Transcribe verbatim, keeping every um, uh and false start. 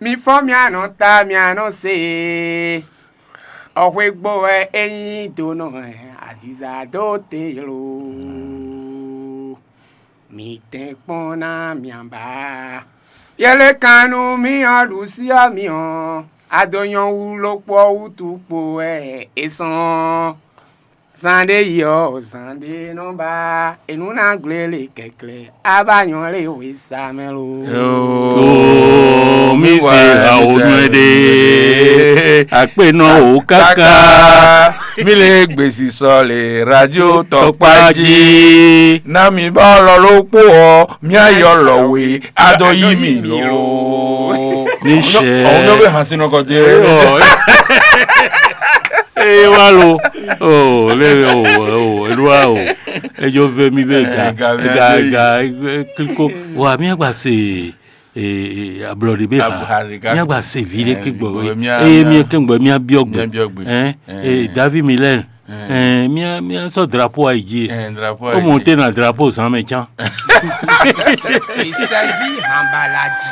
Mi fɔ́n mia nɔ ta mia nɔ se. Ɔxwé gbo wɛ é nyí do nɔ aziza dó te lo. Mi tɛn kpɔ́n ná mia ba. Yɛlɛ kan nú mì ɔ́ ɖu sí ɔ́ mi ɔ́, ado nyɔ́ wú lókpó wútu kpo wɛ é sɔn. Zan ɖé yi ɔ́, zan ɖé nɔ ba, è nǔ ná gblé lě kɛklɛ, a ba nyɔ̌ lě wěsa mɛ lo. Oo, mi se awo nue ɖe, akpe nɔ o kaka. Mi le gbèsè sɔ le radio tɔkpa jí. Na mi ba ɔlɔ ló kpó ɔ, mi ayɔ lɔ we, adɔ yí mi lo. Ní sɛ. Àwọn yóò bẹ hàn sínú ọkọ dé. Eye wa lo. O le o o eɖua o. Edzo ve mi be ga Eh, ga ve ga ado yi. ga eh, kliko. Wa mi agba se eh, eh, ablɔɖe be ha. Ablɔɖe ga. Mi agba se vi ɖe Eh, ke gbɔ gbɔ we. mia- Eye mia- mi ke gbɔ mia biɔ Mia gbɛ. biɔ gbɛ. Eh, Eh. eh, David Miller. Eh. Eh, mia mia sɔ drapeau ayi dzi. Eh, drapeau O ayi. Monté na drapeau zan mɛ can. Ìsẹ́jí hànbàlàjì.